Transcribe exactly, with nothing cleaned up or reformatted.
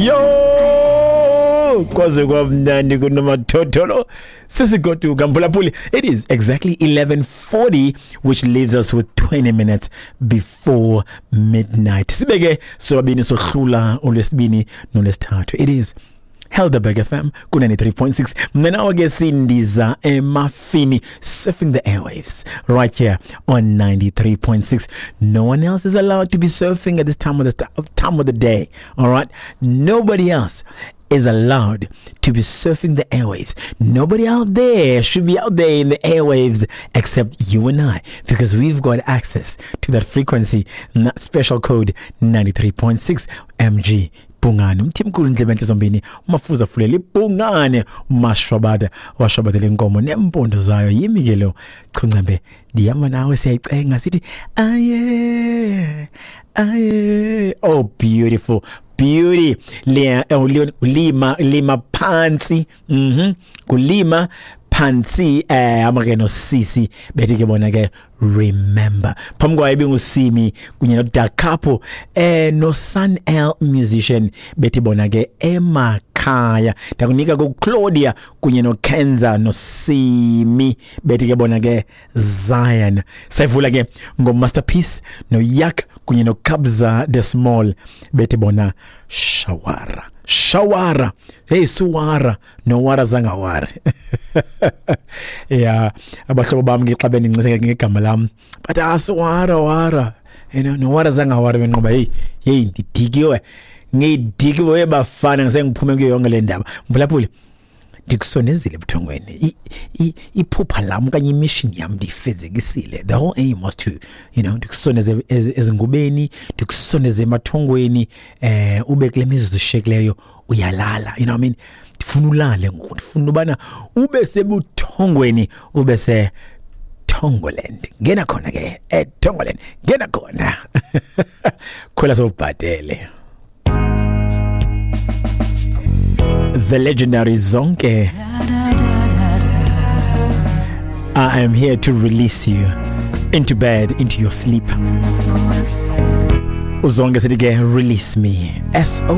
Yo, kwaze kwamnandi kunomathotholo. Sisigoduka mphulaphuli. It is exactly eleven forty, which leaves us with twenty minutes before midnight. Sibeke sobabini, sohlula olwesibini nolwesithathu. It is Helderberg F M ku ninety-three point six. Mna nawe ke sindiza emafini, surfing the airwaves right here on ninety-three point six. No one else is allowed to be surfing at this time of the time of the day. All right? Nobody else is allowed to be surfing the airwaves. Nobody out there should be out there in the airwaves except you and I, because we've got access to that frequency, that special code ninety-three point six. M G Bhungane, uMthimkhulu, ndlebe zombini, umafuza fulela ibhungane, umashwabada washwabadela inkomo nempondo zayo. Yimi ke lo Chuncembe, ndihamba nawe, siyayicenga sithi aye aye. Oh, beautiful beauty le, lima lima phansi, mhm kulima phansi. eh amake nosisi bethi ke bona ke "Remember". Phambi kwayo ibingusimi kunye no Dark Couple eh no Sun L Musician, bethi bona ke "Emakhaya". Ndakunika ku Claudia kunye no Kenza no Simi, bethi ke bona ke "Zion". Sayivula ke ngo Masterpiece no Yak kunye no Kabza the Small, bethi bona "Shawara Shawara". Hey, suwara no wara zangawara. Yeah, abahlobo bami ngixa bendincise ngegama lam, but asuwara wara, you know no wara zangawara, benqoba. Hey hey, ndidikiwe, ngidikiwe bafana, ngisengiphume kuyo yonke le ndaba. Mphulaphuli, ndikusonezile ebuthongweni. Iphupha lam okanye imission yam ndiyifezekisile. The whole aim was to you know ndikusondeze ezingubeni, ndikusondeze emathongweni, eh ube kule mizuzu eshiyekileyo uyalala, you know what I mean? Ndifuna ulale ngoku, ndifuna ubana ube sebuthongweni, ube se Tongoland. Ngena khona ke eTongoland, ngena khona, khwela sowubhadele. The legendary Zonke, I am here to release you into bed, into your sleep. UZonke sithi ke "Release Me". S O.